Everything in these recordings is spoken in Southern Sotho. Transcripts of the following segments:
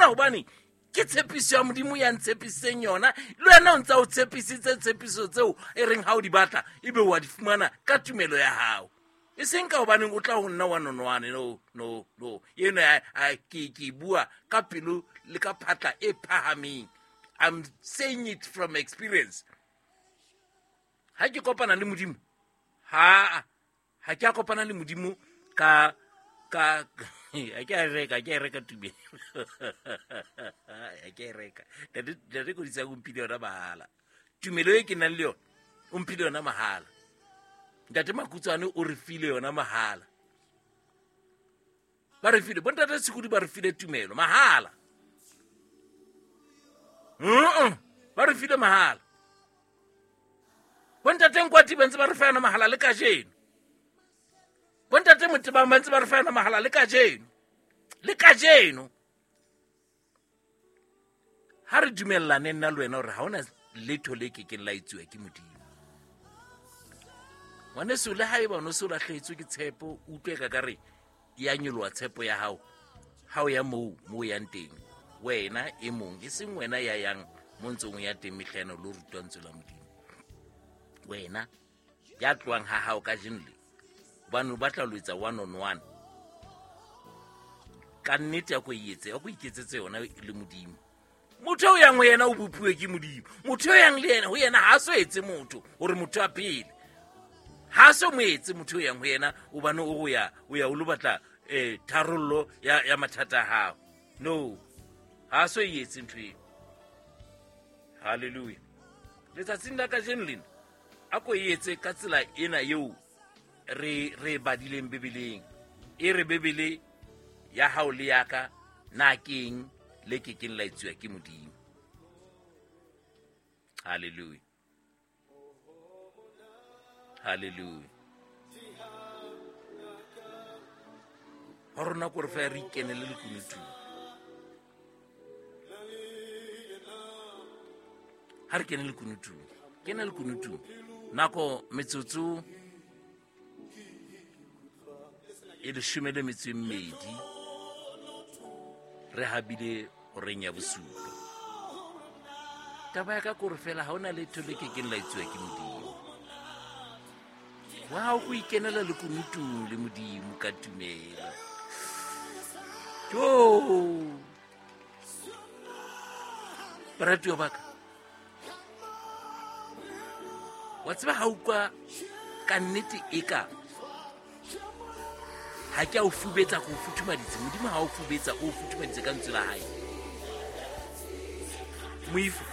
dumela hobane ke tshepiso ya Modimo ya ntshepisitseng yona. Le wena o ntsa o tshepisitse tshepiso tseo e reng ha o di batla ebe wa di fumana ka tumelo ya hao. E seng ka hobaneng o tla ho nna wa nonwane. No, no, no. Eno ke bua ka pelo le ka phatla e phahameng. I'm saying it from experience. Ha ke kopana le Modimo, ha ke a kopana le Modimo ka ha ke a reka tumelo. Ha ke a reka. Ntate Kodisa o mphile yona mahala. Tumelo e ke nang le yona, o mphile yona mahala. Ntate Makutswane o re file yona mahala. Ba re file, bontate Sekudi ba re file tumelo mahala. Ba re file mahala. Bontate Nkwati ba ntse ba re fa yona mahala le kajeno. Bontate Motebang ba ntse ba re fa yona mahala le kajeno. Le kajeno. Ha re dumellane nna le wena hore ha hona letho le kekeng la etsuwa ke Modimo. Ngwaneso, le haeba o no se o lahlehetswe ke tshepo, o utlwe ka re ya nyoloha tshepo ya hao, ha o ya moo mo o yang teng, wena e mong, e seng wena ya yang mo ntseng o ya teng mehlano lo rutwa ntswe la Modimo. Wena ya tlohang ha hao kajeno le, hobane o batla ho etsa one on one. Ka nnete ya ko etse, ya ko iketsetse yona le Modimo. Motho o yang ho yena o bopuwe ke Modimo. Motho o yang le yena ho yena ha so etse motho hore motho a phele. Ha so mo etse motho o yang ho yena hobane o ya o ya o lo batla tharollo ya mathata a hao. No, ha so etse ntho eo. Hallelujah. Letsatsing la kajeno lena a ko etse ka tsela ena eo re badileng Bibeleng. E re Bibele ya hao le ya ka na keng le ke keng la etsuwa ke Modimo. Hallelujah. Hallelujah. Ho rona ko re fa re ikenele lekunutung. Ha re kene lekunutung. Kena lekunutung. Nako metsotso e leshome le metso e mmedi re habile horeng ya bosupa. Taba ya ka kore fela ha hona letho le kekeng la etsuwa ke Modimo. Wa hao o ikenela lekunutung le Modimo ka tumelo. Jo! Baratuwa ba ka. Wa tseba ha utlwa ka nnete e ka ha ke a o fubetsa go futhumaditse. Modimo ha o fubetsa, o futhumaditse ka ntswe la hae. Moifo.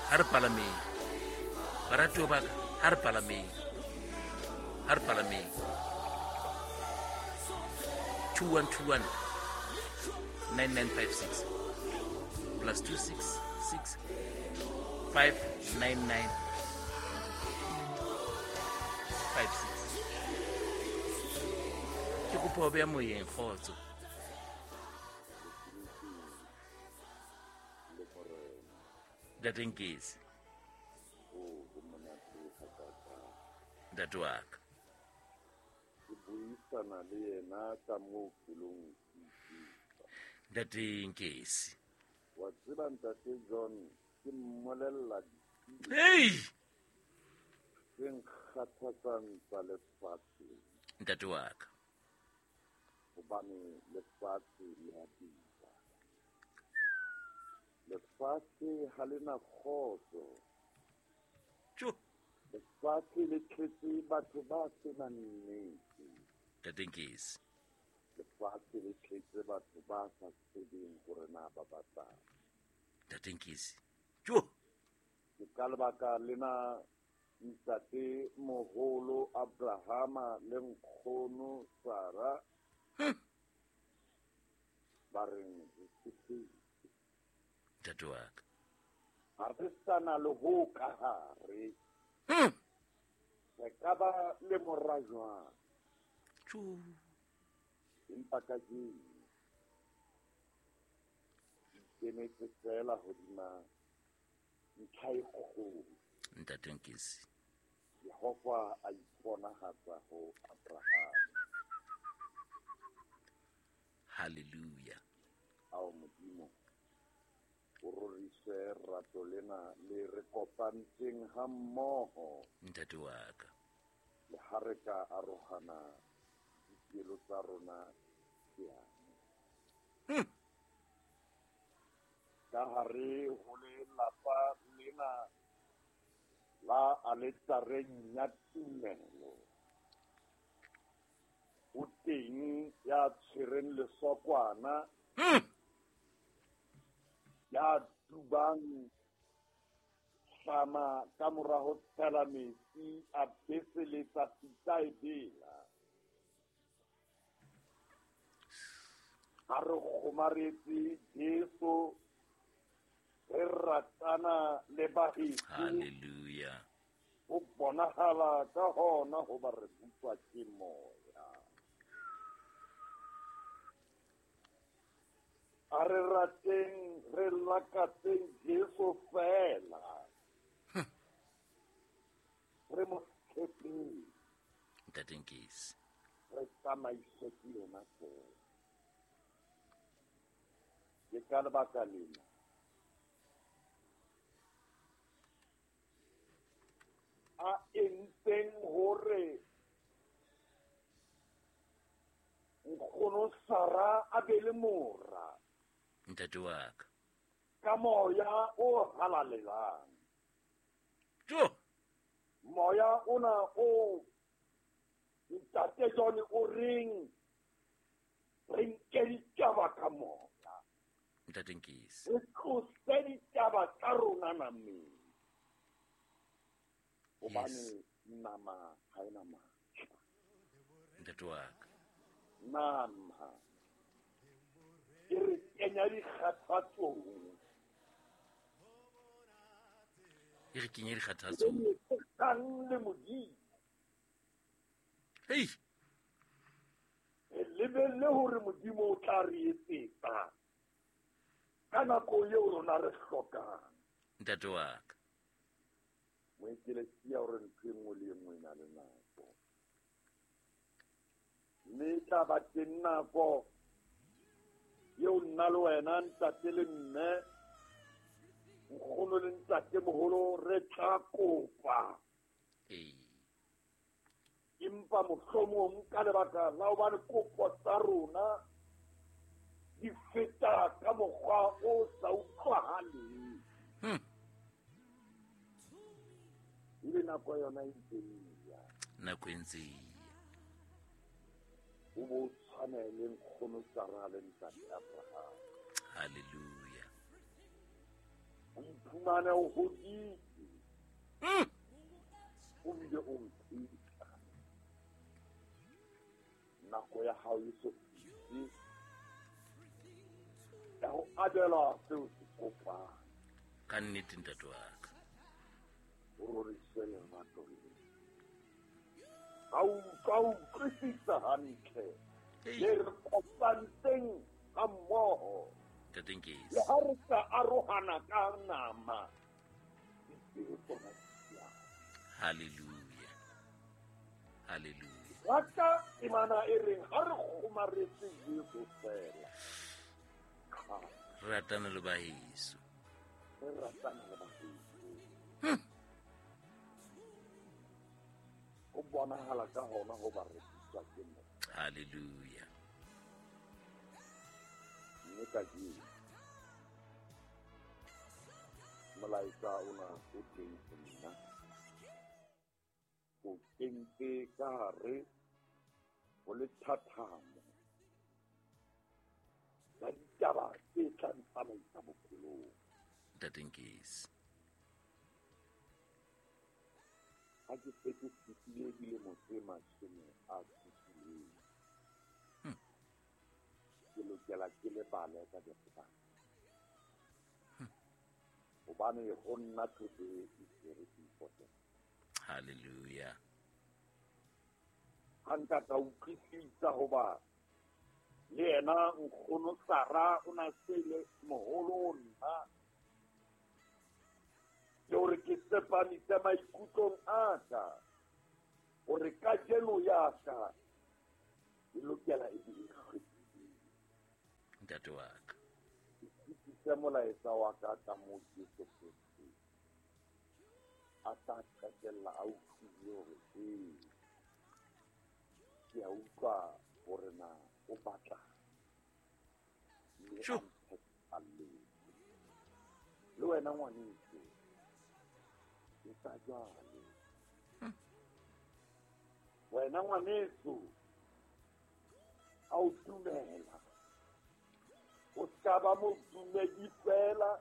Ha re palameng. Baratuwa ba ka, ha re palameng. Ha re palameng. 2121 9956 plus 266 599 56. Ke kopa ho beha moyeng, kgotso. Ntate Nkesi. Ntate wa ka. Ke buisana le yena ka moo pelong. Ntate Nkesi. Wa tseba Ntate John, ke mmolella Hey! Tse nkgathatsang tsa lefatshe. Ntate wa ka. Hobane lefatshe le a bitsa. Lefatshe ha le na kgotso. Tjo. Lefatshe le tletse batho ba senang nnete. Ntate Nkesi. Lefatshe le tletse batho ba sa tsebeng hore na ba batlang. Ntate Nkesi. Tjo. Ke ka lebaka lena ntate moholo Abrahama le nkgono Sara ba reng re tsofetse. Ntate wa ka. Ha re sa na le ho ka hare. Re ka ba le mora jwang? Tjo. Empa kajeno ke fela hodima ntlha e kgolo. Ntate Nkesi. Jehova a iponahatsa ho Abraham. Hallelujah. Ao Modimo, o rorise rato lena le re kopantseng ha mmoho. Ntate wa ka. Le ha re ka arohana dipelo tsa rona ke yane. Ka hare ho lelapa lena la aletareng ya tumelo, o teng ya tshwereng lesokwana, ya dubang hlama ka mora ho tshela metsi a beseletsa pitsa e bela. Ha re kgomaretse Jesu, re ratana le baheso. Hallelujah. Ho bonahala ka hona hoba re buswa ke moya. A re rateng, re lakatseng Jesu fela. Re mo tshepeng. Ntate Nkisi. Re tsamaiswe ke yena fela. Ke ka lebaka lena a entseng hore nkgono Sara a be le mora. Ntate wa ka. Ka moya o halalelang. Jo. Moya ona o ntate John o reng re nke ditaba ka moya. Ntate Nkisi. Re tlose ditaba tsa rona nameng. Hobane nama ha ena matla. Ntate wa ka. Nama e re kenya dikgathatsong. E re kenya dikgathatsong. Kang le Modimo. Hei. Re lebelle hore Modimo o tla re etsetsa ka nako eo rona re hlokang. Ntate wa ka. Moekelesia hore ntho e nngwe le e nngwe e na le nako. Mme e tla ba teng nako eo nna le wena ntate le mme, nkgono le ntate moholo re tla kopa. Empa mohlomong ka lebaka la hobane kopo tsa rona di feta ka mokgwa o sa utlwahaleng. Ebe nako yona e ntse e ya. Nako e ntse e ya. O bo tshwane le nkgono Sara le ntate Abraham. Hallelujah. O iphumane o hodile. O bile o mpheta. Nako ya hao e so fihle ya ho abelwa seo se kopang. Ka nnete ntate wa ka. O roriswe lerato le. Ha o utlwa o utlwisisa hantle. Le re kopantseng ha mmoho. Ntate Nkisi. Le ha re sa arohana ka nama, dipelo tsona di ya. Hallelujah. Hallelujah. Rata temana e reng ha re kgomaretse Jesu fela. Re ratana le baheso. Re ratana le baheso. Ho bonahala ka hona hoba re buswa ke moya. Hallelujah. Mme kajeno molaetsa ona o teng ho nna. O kentse ka hare ho lethathamo la ditaba tse tla ntsamaisa bophelong. Ntate Nkisi. Ha ke se ke fetile dilemo tse 70, ke lokela ke lebale ka dikgobalo. Hobane ho nna today is very important. Hallelujah. Ha nka ka utlwisisa hoba le yena nkgono Sara o na se le moholo nna. Le hore ke tsepamise maikutlong a ka hore kajeno ya ka e lokela e be e hlwekile. Ntate wa ka. Ke fetise molaetsa wa ka ka moo Jesu Kreste a tla qetella a utlwile hore ee, ke a utlwa hore na o batla mme a mphetalletse. Le wena ngwaneso, etsa jwalo. Wena ngwaneso, a o dumela, o ska ba modumedi fela,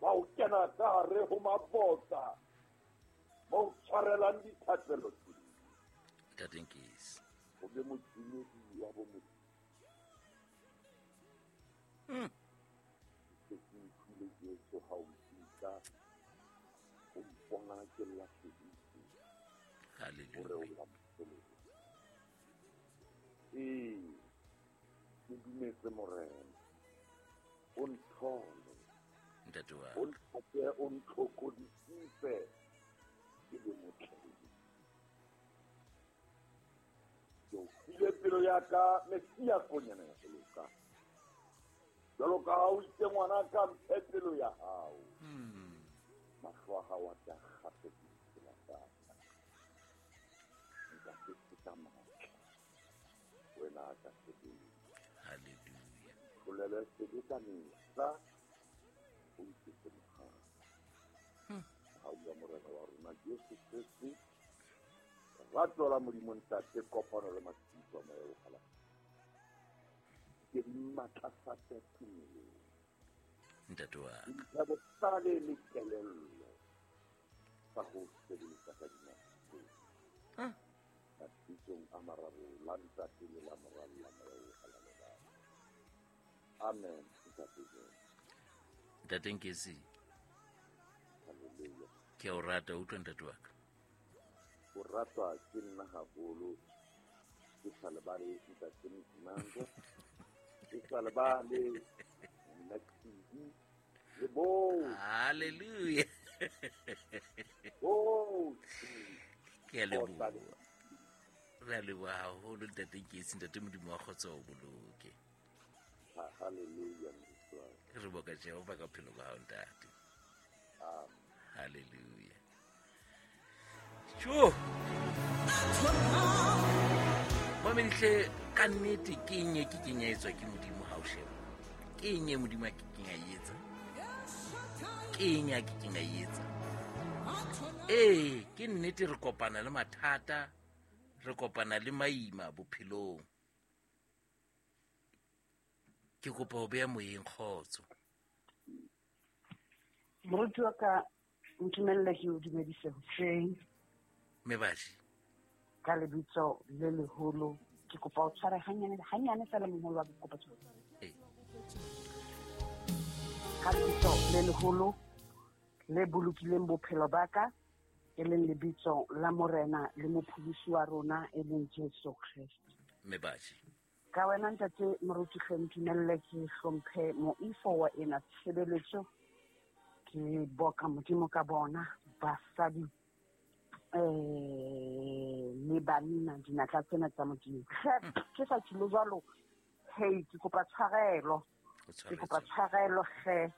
ba o kena ka hare ho mabota, ba o tshwarelang dithapelo tse. Ntate Nkesi. O be modumedi wa bo Modimo. Ke se utlwile Jesu ha o mpitsa, o mpona ke lahlehile. Hallelujah. Hore o la mpholosa. Ee, ke dumetse Morena. O nthole. Ntate wa O nthate, o ntlhokodisise, ke be motle. Ke o file pelo ya ka, Messia konyana ya ho loka. Jwalo ka ha o itse ngwana ka, mphe pelo ya hao. Mahlo a hao a tla kgahle ke ditsela tsa ka. Nka se feta matla. Wena a ka sebetsa. Hallelujah. Tlolele sebe ka mehla, o nketse mohau. Mohau wa Morena wa rona Jesu Kreste, lerato la Modimo Ntate, kopano le matshediso a Moya o Halalelang. Ke di matlafatse tumelong. Ntate wa ka. Dintlha bohlale le kelello tsa ho sebeletsa ka dinako tsohle. Mabitsong a mararo, la Ntate le la Mora le la Moya o Halalelang. Amen. Ntate Jesu. Ntate Nkesi. Hallelujah. Ke a o rata, utlwa ntate wa ka. O ratwa ke nna haholo. Ke sa lebale ntate Mdimanga. Ke sa lebale nna Tshidi le bohle. Hallelujah. Bohle. Ke a leboha. Re a leboha haholo ntate Nkesi, ntate Modimo wa kgotso o boloke. Hallelujah. Re boka Jehova ka bophelo ba hao ntate. Amen. Hallelujah. Tjo. Mamedihle, ka nnete ke eng e ke keng ya etswa ke Modimo ha o sheba? Ke eng e Modimo a ke keng a e etsa? Ke eng a ke keng a e etsa? Ee, ke nnete re kopana le mathata, re kopana le maima bophelong. Ke kopa ho beha moyeng kgotso. Moruti wa ka, ntumelle ke o dumedise hoseng. Mebashi. Ka lebitso le leholo, ke kopa o tshware hanyane, hanyane fela moholo wa ke kopa tshware. Ee. Ka lebitso le leholo le bolokileng bophelo ba ka, e leng lebitso la Morena le mopholosi wa rona e leng Jesu Kreste. Mebashi. Ka wena ntate moruti hle ntumelle ke hlomphe moifo wa ena tshebeletso. Ke boka Modimo ka bona basadi le banna dinatla tsena tsa Modimo. Ke sa tshilo jwalo, hey, ke kopa tshwarelo. Ke kopa tshwarelo hle.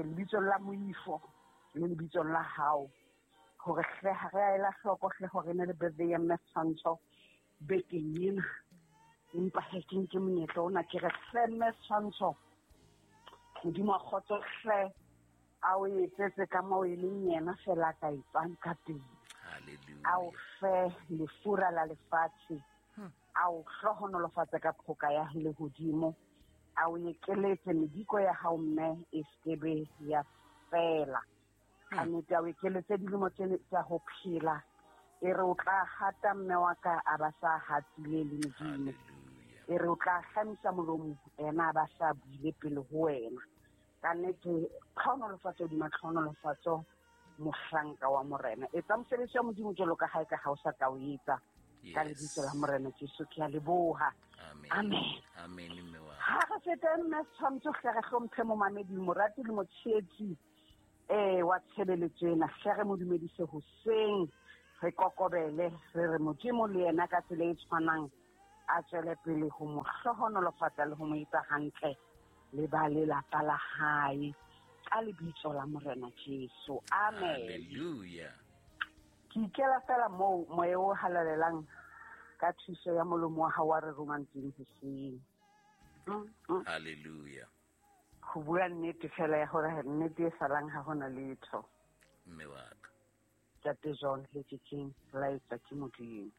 Lebitsong la moifo le lebitsong la hao. Hore hle ha re a ela hloko hle hore ne le birthday ya Mme Tshwantsho bekeng ena. Empa he ke nke monyetla ona ke re hle Mme Tshwantsho, Modimo wa kgotso hle a o etsetse ka moo e leng yena fela a ka etsang ka teng. Hallelujah. A o fe lefura la lefatshe, a o hlohonolofatse ka phoka ya lehodimo, a o ekeletse mediko ya hao mme e sekebe ya fela. Ka nnete a o ekeletse dilemo tse tsa ho phela, e re o tla hata mme wa ka a ba sa hatile le Modimo. Hallelujah. E re o tla hlamisa molomo ena a ba sa buile pele ho wena. Ka nnete tlhohonolofatso hodima tlhohonolofatso mohlanka wa Morena. Etsa mosebetsi wa Modimo jwalo ka ha e ka ha o sa ka o etsa. Ka lebitso la Morena Jesu ke a leboha. Amen. Amen. Amen mme wa. Ha re fete mme Tshwantsho hle re hlomphe momamedi, morati le motshehetsi wa tshebeletso ena. Hle re mo dumedise hoseng, re kokobele, re re Modimo le yena ka tsela e tshwanang A tswele pele ho mo hlohonolofatsa le ho mo etsa hantle le ba lelapa la hae ka lebitso la Morena Jesu. Amen. Hallelujah. Ke ikela fela moo moya o halalelang ka thuso ya molomo wa hao wa re romang teng hoseng. Hallelujah. Ho bua nnete fela ya hore nnete e salang ha hona letho. Mme wa ka. Ntate John le ke keng la etswa ke Modimo.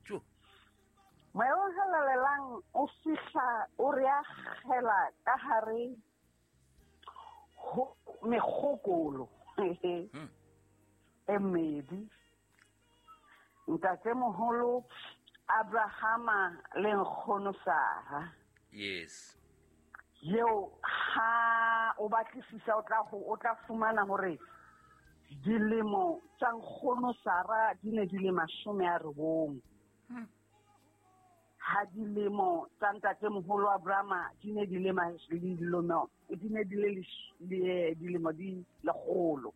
Jo. Moya o halalelang o fihla o re akgela ka hare ho mekgokolo e medi. Ntatemoholo Abrahama le nkgono Sara. Yes. Yeo ha o batlisisa o tla fumana hore dilemo tsa nkgono Sara di ne di le 90. Ha dilemo tsa ntatemoholo Abrahama di ne di le dilemo di lekgolo.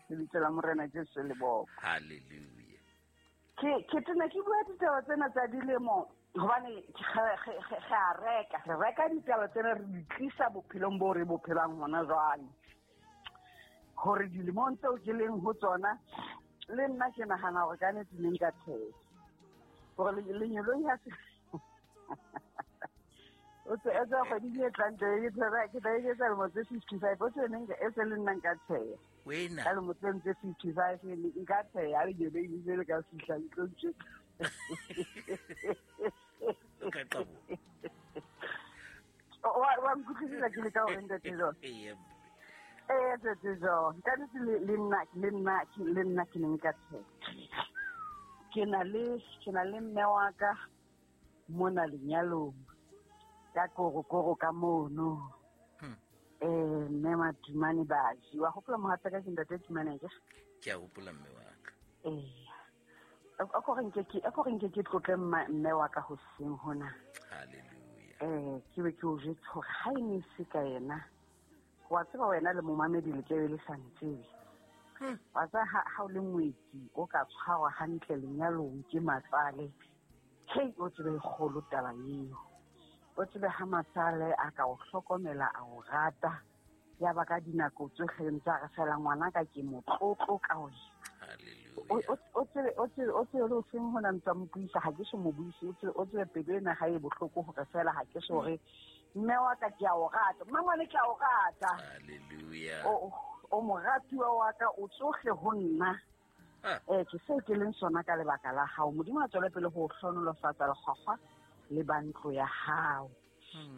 Lebitso la Morena Jesu le boko. Hallelujah. Ke tena ke bua ditaba tsena tsa dilemo hobane re reka ditaba tsena re di tlisa bophelong bo re bo phelang hona jwale. Hore dilemong tseo ke leng ho tsona le nna ke nahana hore ka nnete ne nka tshela. Hore lenyeloi ha se o tse etsa kgwedi e tlang teng ke tla etsa lemo tse 55 o tse neng e se le nna nka tshela. Wena. Ka lemo tse 55 nka tshela lenyeloi le le ka fihla ntlo tje. Ka qabo. Wa nkutlwisisa ke le ka hore ntate John. Ee. Ntate John, ka nnete le nna ke ne nka tshela. Ke na le mme wa ka mona lenyalong ka korokoro ka mono. Mme Matumane Baji. Wa hopola mohatsa ka ke ntate Tumane ke? Ke a hopola mme wa ka. A ko re nke ke tlotle mme wa ka hoseng hona. Hallelujah. Ke be ke o jwetse hore ha e ne se ka yena. Wa tseba wena le momamedi le tlabe le sa ntsebe. Wa tseba ha o le ngwetsi o ka tshwarwa hantle lenyalong ke matsale. Hei, o tsebe kgolo taba eo. O tsebe ha matsale a ka o hlokomela a o rata. Ya ba ka dinako tsohle ntse a re fela ngwana ka ke motlotlo ka wena. Hallelujah. O tsebe le o seng hona ntse mo buisa ha ke so mo buise o tsebe pelo ena ha e bohloko hore fela ha ke so hore mme wa ka ke a o rata. Mmangwane ke a o rata. Hallelujah. O moratuwa wa ka o tsohle ho nna. Ke seo ke leng sona ka lebaka la hao. Modimo a tswele pele ho hlonolofatsa lekgwakgwa le ba ntlo ya hao.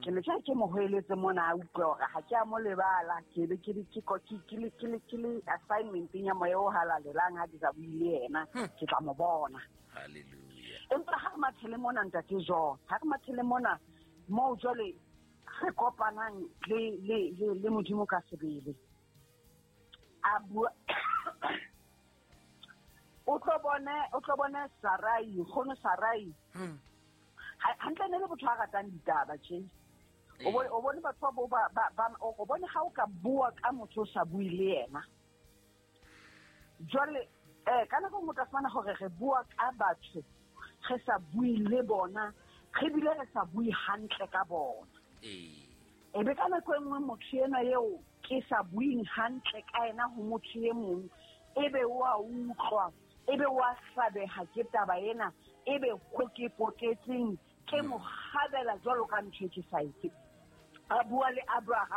Ke ne ke mo hoeletse mona a utlwe hore ha ke a mo lebala ke be ke le assignment-eng ya moya o halalelang ha ke sa bue le yena ke tla mo bona. Hallelujah. Empa ha re mathele mona ntate John, ha re mathele mona moo jwale re kopanang le Modimo ka sebele. A bua o tlo bone Sarai, nkgono Sarai. Hantle ne le botho a ratang ditaba tje. O bone batho ba o bone ha o ka bua ka motho o sa bue le yena. Jwale ka nako nngwe o tla fumana hore re bua ka batho re sa bue le bona, re bile re sa bue hantle ka bona. E be ka nako e nngwe motho enwa eo ke sa bueng hantle ka yena ho motho e mong, ebe wa utlwa, ebe wa hlabeha ke taba ena, ebe ho ke koketseng ke mo kgabela jwalo ka ntho e ke sa etse. A bua le Abraham.